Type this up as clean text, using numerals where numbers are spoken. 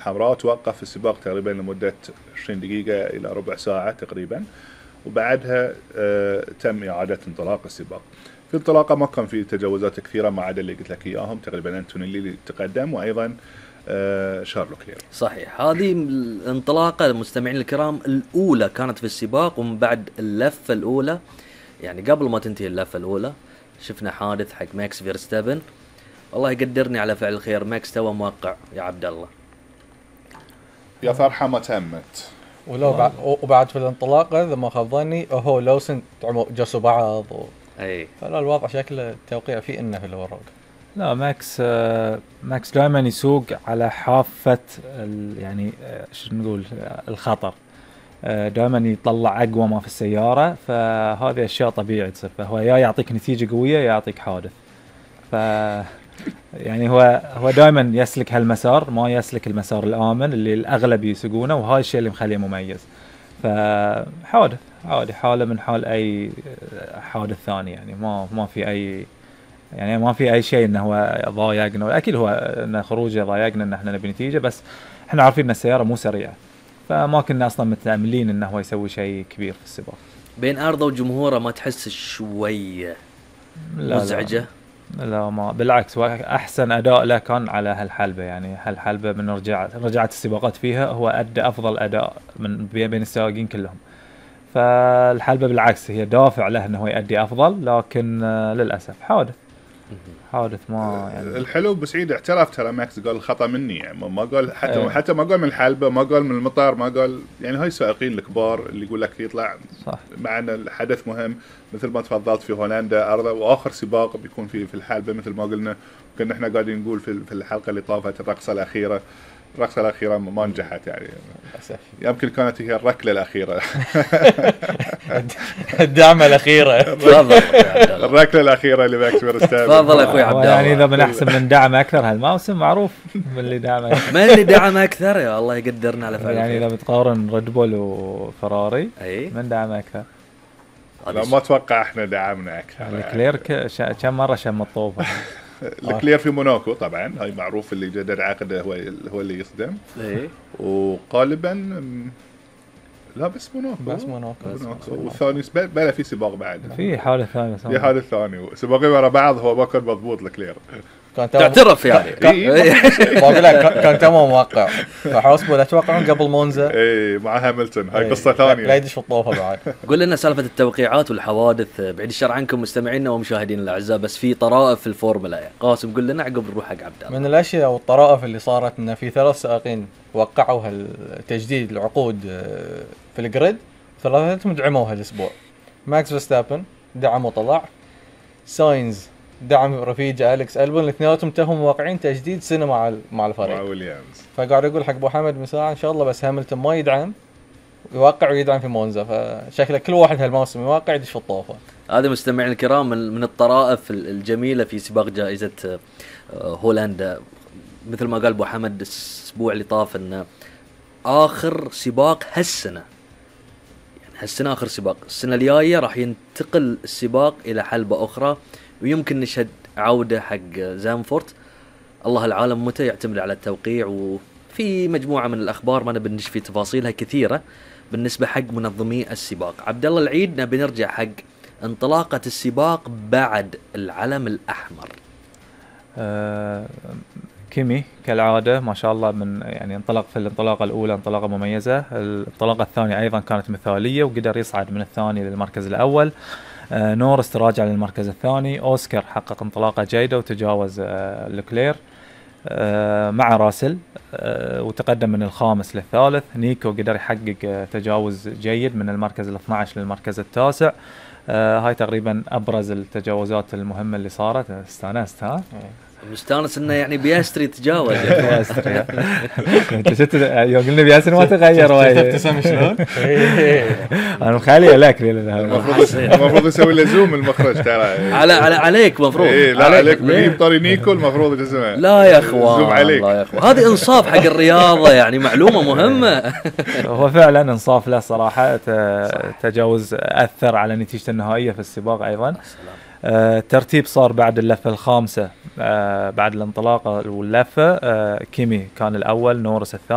حمراء، توقف السباق تقريبا لمدة 20 دقيقة إلى ربع ساعة تقريبا، وبعدها تم إعادة انطلاق السباق. في الانطلاقة ما كان في تجاوزات كثيرة ما عدا اللي قلت لك إياهم، تقريبا أنتوني اللي تقدم، وأيضا شارلو كلير. صحيح، هذه الانطلاقة المستمعين الكرام الأولى كانت في السباق، ومن بعد اللفة الأولى يعني قبل ما تنتهي اللفة الأولى شفنا حادث حق ماكس فيرستابن. الله يقدرني على فعل الخير، ماكس تو موقع يا عبد الله، يا فرحة ما تمت. ولو وبعد في الانطلاقة إذا ما خاب ظني هو لوسن جسوا بعض أي فلا الوضع شكل التوقيع فيه إنه في الورق. لا ماكس دائما يسوق على حافة يعني شو نقول الخطر، دائما يطلع أقوى ما في السيارة، فهذه أشياء طبيعية تصير، فهو يا يعطيك نتيجة قوية يا يعطيك حادث. ف يعني هو دائما يسلك هالمسار، ما يسلك المسار الآمن اللي الأغلب يسوقونه، وهاي الشيء اللي مخليه مميز. فحادث عادي، حالة من حال أي حادث ثاني، يعني ما في أي، يعني ما في أي شيء إنه هو ضايقنا. أكيد هو إن خروجه ضايقنا إن إحنا نبي نتيجة، بس إحنا عارفين إن السيارة مو سريعة، فما كنا أصلا متأملين إنه هو يسوي شيء كبير في السباق. بين أرضه وجمهوره ما تحس شوية مزعجة؟ لا ما بالعكس، أحسن أداء له كان على هالحلبة. يعني هالحلبة من رجعت السباقات فيها هو أدى أفضل أداء من بين السائقين كلهم. فالحلبة بالعكس هي دافع له إنه هو يؤدي أفضل، لكن للأسف حادث ما يعني. الحلو بسعيد اعترف ترى ماكس، قال الخطأ مني، يعني ما قال حتى ما قال من الحلبة، ما قال من المطار، ما قال يعني هاي السائقين الكبار اللي يقول لك يطلع صح. مع ان الحدث مهم مثل ما تفضلت في هولندا أرض، واخر سباق بيكون في الحلبة مثل ما قلنا. كنا احنا قاعدين نقول في الحلقة اللي طافت الرقصة الأخيرة ما نجحت، يعني للأسف يمكن كانت هي الركلة الأخيرة الدعمة الأخيرة الركلة الأخيرة اللي ماكس فيرستابن. تفضل يا أخوي عبد الله. يعني إذا من أحسن من دعم أكثر هالموسم معروف من اللي دعم أكثر. من اللي دعم أكثر؟ يا الله يقدرنا على فعل يعني إذا بتقارن ريد بول وفراري أي من دعم أكثر. لا ما أتوقع إحنا دعمنا أكثر. الكلير كم مرة شم الطوفة. الكلير في موناكو طبعا، هاي معروف اللي جدد عقده هو اللي يصدم. إيه وغالبا لا بس موناكو والثاني بلا في سباق بعد، في حالة ثانية في حالة ثانية سباقين ورا بعض، هو ما كان مضبوط الكلير. تعترف يعني بقول لك كان تمام موقع، فحاسبوا لا توقعون قبل مونزا اي مع هاملتون، هاي قصة ثانية لا يدش في الطوفة بعد. قول لنا سالفة التوقيعات والحوادث بعيد الشر عنكم مستمعينا ومشاهدينا الأعزاء، بس في طرائف في الفورمولا يعني. قاسم قول لنا عقب نروح حق عبد الله. من الأشياء والطرائف اللي صارت إن في 3 سائقين وقعوا هالتجديد العقود في الجريد، 3 دعموا هالأسبوع. ماكس فيرستابن دعم وطلع، ساينز دعم رفيجه أليكس ألبون، الاثنيناتهم تهم واقعين تجديد سنة مع الفريق مع ويليامز. فقاعد يقول حق أبو حمد مساء إن شاء الله بس هاملتون ما يدعم يوقع ويدعم في مونزا، فشكله كل واحد هالموسم يوقع يدش في الطوفة. هذا مستمعين الكرام من الطرائف الجميلة في سباق جائزة هولندا. مثل ما قال أبو حمد الأسبوع اللي طاف إن آخر سباق هالسنة، يعني هالسنة آخر سباق، السنة الجاية راح ينتقل السباق إلى حلبة أخرى، ويمكن نشهد عودة حق زانفورت. الله العالم متى يعتمد على التوقيع. وفي مجموعة من الأخبار ما نبي في تفاصيلها كثيرة بالنسبة حق منظمي السباق. عبد الله العيد نبي نرجع حق انطلاقة السباق بعد العلم الأحمر. كيمي كالعادة ما شاء الله، من يعني انطلق في الانطلاقة الأولى انطلاقة مميزة، الانطلاقة الثانية أيضا كانت مثالية وقدر يصعد من الثاني للمركز الأول. نورس تراجع للمركز الثاني، أوسكار حقق انطلاقة جيدة وتجاوز لوكلير مع راسل وتقدم من الخامس للثالث. نيكو قدر يحقق تجاوز جيد من المركز ال12 للمركز التاسع. هاي تقريبا أبرز التجاوزات المهمة اللي صارت. استانست ها؟ مستانس انه يعني بياستري تجاوز. بياستري انت شفت يوم قلنا بياستري ما تغير وايد. ابتسم شلون؟ انا مخليه لك المفروض يسوي له زوم المخرج ترى. عليك مفروض. لا عليك بجيب طاري نيكو المفروض جسمه. لا يا اخوان لا يا اخوان، هذه انصاف حق الرياضه يعني، معلومه مهمه. هو فعلا انصاف له صراحه، تجاوز اثر على نتيجه النهائيه في السباق ايضا. ترتيب صار بعد اللفة الخامسة، بعد الانطلاقة واللفة، كيمي كان الأول، نورس الثاني.